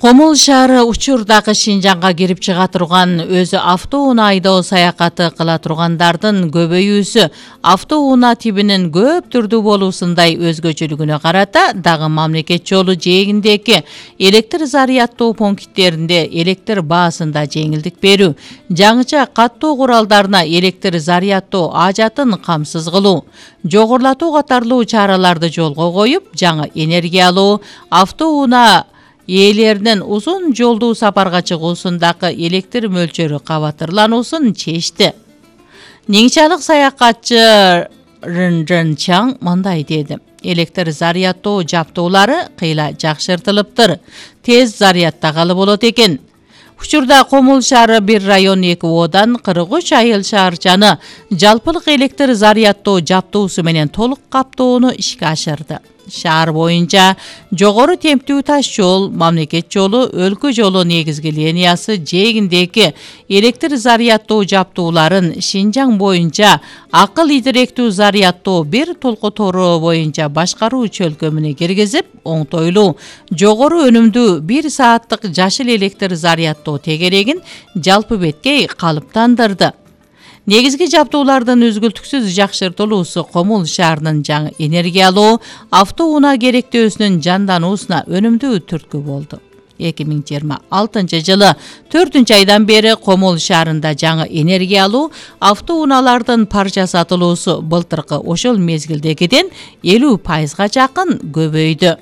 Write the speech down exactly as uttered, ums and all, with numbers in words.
Комул шаары учурдагы Шинжаңга кирип чыга турган өзү автоунаа айдоо саякаты кыла тургандардын көбөйүүсү автоунаа тибинин көп түрдүү болуусундай өзгөчөлүгүнө карата дагы мамлекет жолу жээгиндеги электр зарядтоо пункттеринде электр баасында жеңилдик берүү, жаңыча каттоо куралдарына электр зарядтоо ажатын камсыз кылуу, жогорулатуу катарлуу чараларды жолго коюп, жаңы энергиялуу автоунаа ээлеринин узун жолдуу сапарга чыгуусундагы электр мөлчөрү кабатырлануусун чечти. Ниңчалык саякатчы Рынжын Чаң мындай деди: электр зарядтоо жабдуулары кыйла жакшыртылыптыр. Тез зарядтагалы болот экен. Учурда Комул шаары бир район эки одан кырк үч айыл шаарчаны жалпылык электр зарядтоо жабдуусу менен толук каптоону ишке ашырды. Шаар боюнча жогору темптүү таш жол, мамлекет жолу, өлкө жолу негизги линиясы жээгиндеги электр зарядтоо жабдууларын Шинжаң боюнча акыл идиректүү зарядтоо бир толкотору боюнча башкаруу чөлкөмүнө киргизип, оңтойлуу, жогору өнүмдүү бир сааттык жашыл электр зарядтоо тегерегин жалпы беткей калыптандырды. Негизги жабдуулардын үзгүлтүксүз жакшыртылуусу Комул шаарынын жаңы энергиялуу автоунаа керектөөсүнүн жандануусуна өнүмдүү түрткү болду. эки миң жыйырма алтынчы жылы төртүнчү айдан бери Комул шаарында жаңы энергиялуу автоунаалардын парча сатылуусу былтыркы ошол мезгилдегиден элүү пайызга жакын көбөйдү.